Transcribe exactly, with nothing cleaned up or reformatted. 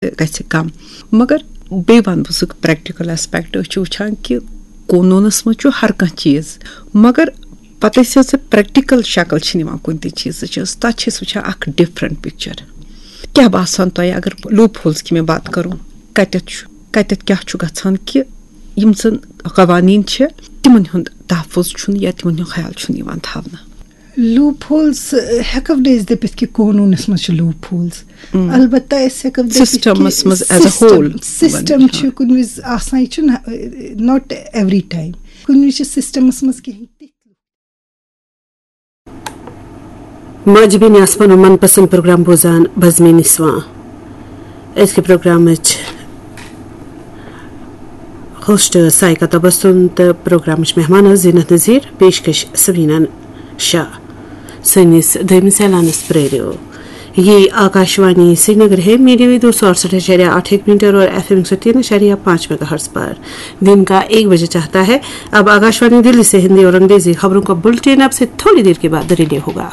گژھِ کم۔ مگر بیٚیہِ ونہٕ بہٕ سُہ پریکٹیکل ایسپیکٹ، أسۍ چھِ وٕچھان کہِ قونوٗنس منٛز چھُ ہر کانٛہہ چیٖز، مگر پتہٕ یُس سُہ پریکٹیکل شکل چھِ نِوان کُنہِ تہِ چیٖزٕچ، تتھ چھِ أسۍ وٕچھان اکھ ڈفرنٹ پکچر۔ کیٛاہ باسان تۄہہِ، اگر لوپ ہولز کی میں بات کرو، کتٮ۪تھ چھُ، کتٮ۪تھ کیٛاہ چھُ گژھان کہِ یِم زن قوانین چھِ، تِمن ہُنٛد تحفظ چھُنہٕ یا تِمن ہُنٛد خیال چھُنہٕ یِوان تھاونہٕ؟ لوپ ہولز ہٮ۪کو نہٕ أسۍ دٔپِتھ کہِ قونوٗنس منٛز چھِ لوپ ہولز۔ البتہ أسۍ ہٮ۪کو دٔپِتھ کہِ سسٹمس منٛز as a system, whole system چھُ کُنہِ وِزِ آسان، یہِ چھُنہٕ، not every time۔ کُنہِ وِزِ چھِ سسٹمس منٛز کینٛہہ تِتھۍ ماجہِ بیٚنہِ آسہٕ پنُن من پسند پروگرام بوزان بزمِ نسواں۔ أزکہِ پروگرامٕچ ہوسٹ سائقہ تبسم تہٕ پروگرامٕچ مہمان ٲس زینت نذیر، پیشکش سوینہ شاہ۔ سٲنِس دوٚیمِس اعلانس پرٛٲرِو۔ یہ آکاشوانی سرینگر ہے، میڈیم ویو دو سو اڑسٹھ اعشاریہ آٹھ ایک میٹر اور ایف ایم ایک سو تین اعشاریہ پانچ میگا ہرٹز پر۔ دن کا ایک بجے چاہتا ہے۔ اب آکاشوانی دلی سے ہندی اور انگریزی خبروں کا بلٹن اب سے تھوڑی دیر کے بعد ریڈیو ہوگا۔